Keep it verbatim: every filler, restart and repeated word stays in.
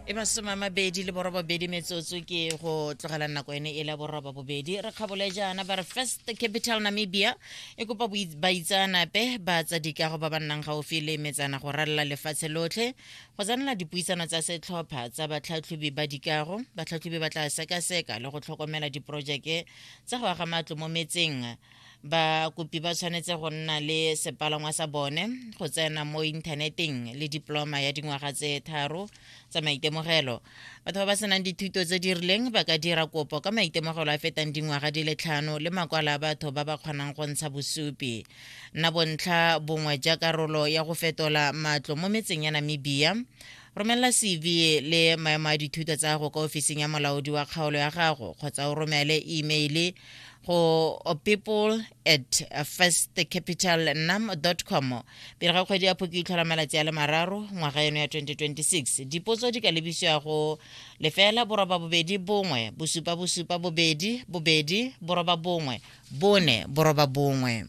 E masome a mabedi le borobabedi metsotso ke go tlogela nako ene e la boroba bobedi. Re kgabole jaana ba re First Capital Namibia e kopa boi- baitseanape ba tsa dikago ba ba nnang gaufi le metsana go ralala lefatshe lotlhe go tsenela dipuisano tsa setlhopha tsa batlhatlhobi ba dikago. Batlhatlhobi ba tla sekaseka le go tlhokomela diporojeke tsa go aga matlo mo metseng. Bakopi ba tshwanetse go nna le sepalangwa sa bone, go tsena mo inthaneteng le diploma ya dingwaga tse tharo tsa maitemogelo. Batho ba ba senang dithuto tse di rileng ba ka dira kopo ka maitemogelo a fetang dingwaga di le tlhano le makwalo a batho ba ba kgonang go ntsha bosupi. Nna bontlha bongwe ja karolo ya go fetola matlo mo metseng ya Namibia. Romelela C V le maemo a dithuto tsa gago kwa ofising ya molaodi wa kgaolo ya gago kgotsa o romele email go people at firstcapitalnam dot com pele ga kgwedi ya Phukwi e tlhola malatsi a le mararo ngwaga eno ya twenty twenty-six. Dipotso di ka lebisiwa go lefela boroba bobedi bongwe bosupa bosupa bobedi bobedi boroba bongwe bone boroba bongwe.